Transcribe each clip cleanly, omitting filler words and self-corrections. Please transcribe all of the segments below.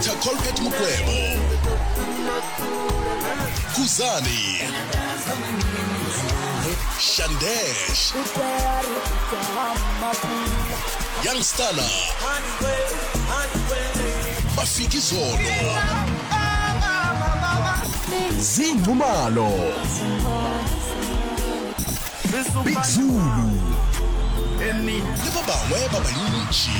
Dr Colbert Mukwevho, Khuzani, Shandesh, Young Stunna, Mafikizolo, Zee Nxumalo, Big Zulu le ba bangwe ba bantši.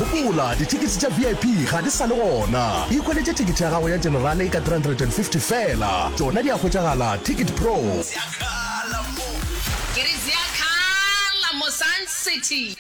Gopola, dithekete tša VIP ga di sa le gona. Ikhweletše thekete ya gago ya generale ka 350 feela. Tšona di a hwetšagala Ticket Pro. Ke re Ziyakhala mo Sun City.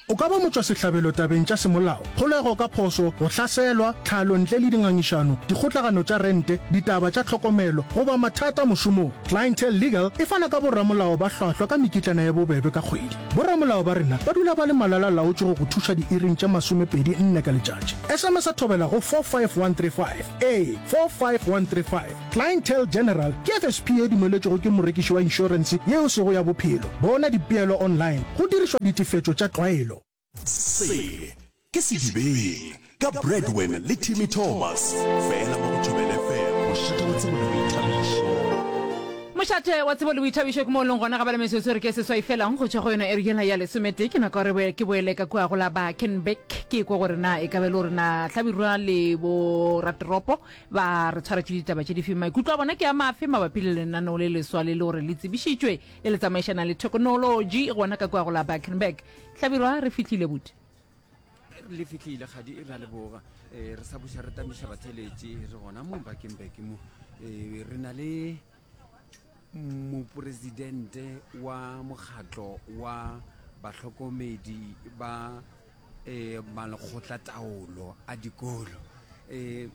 O ka ba motšwasehlabelo tabeng tša semolao, kgolego ka phošo, go hlaselwa, tlhalo ntle le dingangišano, dikgotlagano tša rente, ditaba tša tlhokomelo, goba mathata mošomong. Clientele Legal e fana ka boramolao ba hlwahlwa ka mekitlana ye bobebe ka kgwedi. Boramolao ba rena ba dula ba le malala-laotšwe go go thuša diiring tše masomepedi nne ka letšatši. SMS-a thobela go 45135. Ee, 45135. Clientele General ke FSP ye dumeletšwego ke morekiši wa inšorense ye e sego ya bophelo. Bona dipeelo online go dirišwa ditefetšo tša tlwaelo. Se ke Sedibeng ka Bradwin le Timmy Thomas, fela mo go Thobela FM, mošate wa tsebo le boithabišo. Mošate wa tsebo le boithabišo ke mo o leng gona ga bale metsotso re ke seswai fela go tšwa go yona iri yela ya lesometee. Ke nako ya gore ke boele ka kua go la Bakenberg ke kwe gore na e ka be le gore na Hlabirwa le bo ratoropo Ba re tshwaretše ditaba tše dife? Maikutlo a bona ke a mafe mabapi le lenaneo le leswa le le gore le tsebišitšwe le le tsamaišana le thekonolotši gona ka kua go la Bakenberg? Hlabirwa, re fihlile buti. Le fihlile kgadi, re a leboga. Eh, re sa buša re tamiša batheletši, re gona mo Bakenberg mo. Eh, re na le mopresidente wa mokgatlo wa bahlokomedi ba eh, malekgotlataolo a dikolo eh,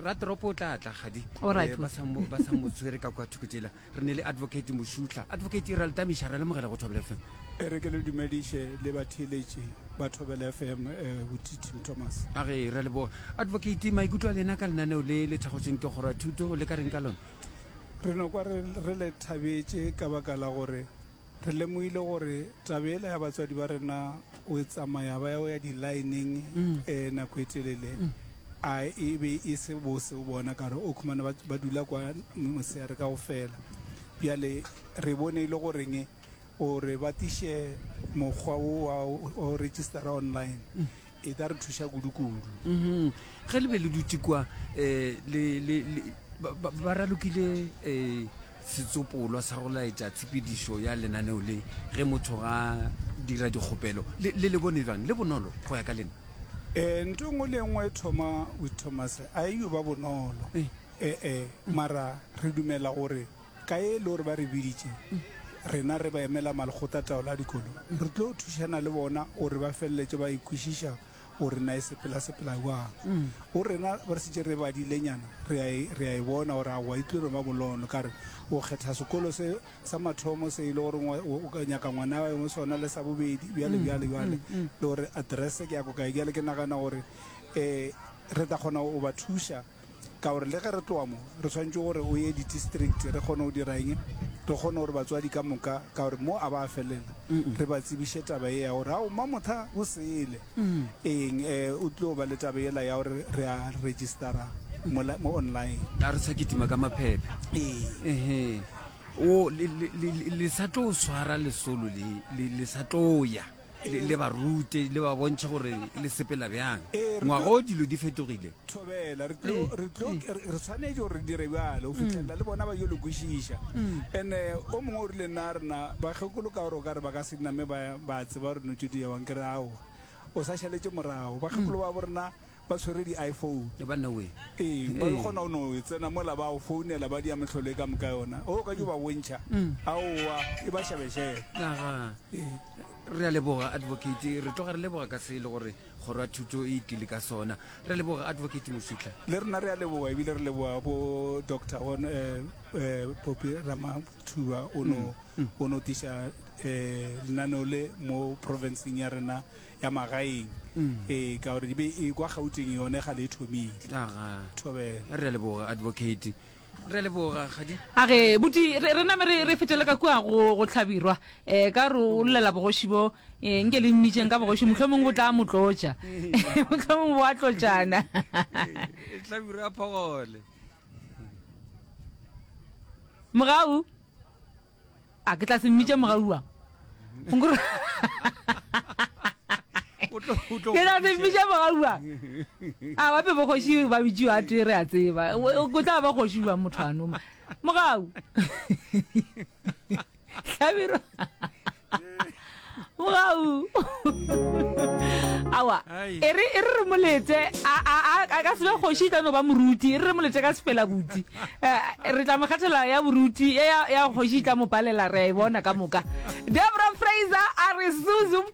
ratoropo o tla tla gadi Alright. Eh, ba sa mo- ba sa mo tshwere ka kwa thoko tsela re ne le advocate mošutla advocate ra le tamiša ra lemogela go thobela fm E re ke le dumediše le batheeletši ba Thobela FM, eh, Botiti Thomas. A ge ra leboga advocate maikutlo a lena ka lenaneo le le thakgotšweng ke kgoro ya thuto le ka reng ka lona Re no kwa re, re le thabetše ka baka la gore Re lemogile gore taba yela ya batswadi ba rena o tsamaya ba ya o ya di-line-eng um nako e telele a e be e se bose o bona ka gore o khumana ba, ba dula kwa mosegare ka go fela. Bjale re bone e le goreng gore ba tiše mokgwa wo wa go registera online e ka re thuša kudu-kudu. Mhm. Ge le be le dutše kwa um le, le, le, ba, ba, ba ralokile um Setsopolwa sa go laetša tshepedišo ya lenaneo le ge motho ga dira dikgopelo le, le le bone bjang? Le bonolo go ya ka lena? E, ntho e nngwe le e nngwe e thoma with Thomas a e yo ba bonolo. E. E-e, mara re dumela gore ka e le gore ba re biditše, rena re ba emela malekgotlataolo a dikolo, re tlo thušana le bona gore ba feleletše ba e kwešiša gore na e sepela-sepela bjang. Go rena ba re šetše re badilenyana, re a e, re a e bona gore aowa e tlo no ba bonolo. Ka re o kgetha sekolo se sa mathomo se e le gore o ka nyaka ngwana wa mo sona le sa bobedi, bjale, bjale, bjale, le gore address ke ya ko kae. Bjale ke nagana gore um re tla kgona go ba thuša. Ka gore le ge re tloga mo, re swanetše gore o ye di-district re kgone go dira eng, re kgone gore batswadi ka moka, ka gore mo a ba felela, re ba tsebiše taba ye ya gore ao Mamotha o sele eng, um o tlo ba le taba yela ya gore re a registera mola mo online. A re sa kitima ka maphephe. Ee. Ehe. O le, le, le, le sa tlo swara lesolo le, le, le sa tlo ya. Le, le ba rute, le ba bontšhe gore le sepela bjang. Ee, re Ngwaga tlo o dilo di fetogile. Thobela, re tlo, re tlo, re swanetše gore re dire bjalo go fihlelela le bona ba yo le kwešiša. And-e o mongwe o rile nna rena bakgekolo ka gore o ka re ba ka se name ba, ba tseba gore dilo tše di ewang, ke re aowa, o sa šaletše morago. Bakgekolo ba bo rena ba tshwere di-iPhone. Banna we. Ee, ba kgona go no tsena mola ba go founela ba dia mehlolo e ka moka yona. O ka yo ba bontšha, aowa, e ba šebešebe. Aga. Ee. Re a leboga Advocate, re tloga re leboga ka se e le gore kgoro ya thuto e tlile ka sona. Re a leboga Advocate Mošitla. Le rena re a leboga ebile re leboga bo Doctor on eh, eh, Poppy Ramathuba o no o no tliša eh, lenaneo le mo provinceng ya rena ya magaeng ee ka gore e be e kwa Gauteng yone ga le e thomile. Aga. Thobela. Re a leboga Advocate. Re leboga kgadi. A ge buti re re name re re fetele ka kua go go hlabirwa eh ka re o llela bogoši bo eh nke le mmitšeng ka bogoši mohlomong bo tla mo tlotša mohlomong bo a tlotšana. Hlabirwa a phogole. Mogau A ke tla se mmitše mogaua. Ke tla se mmitše mogaua. A ba pe bokgoši ba bitšiwa a tee re a tseba. O tla ba kgoši jwang motho a noma. Mogau. Hlabirwa. Mogau. Awa. E re e re re moletse a a a ka se be kgoši e tla no ba moruti. E re re moletse ka sefela buti. Eh, re tla mo kgethela ya boruti ya ya kgoši e tla mo palela re a e bona ka moka. Debra Fraser a re Suzu.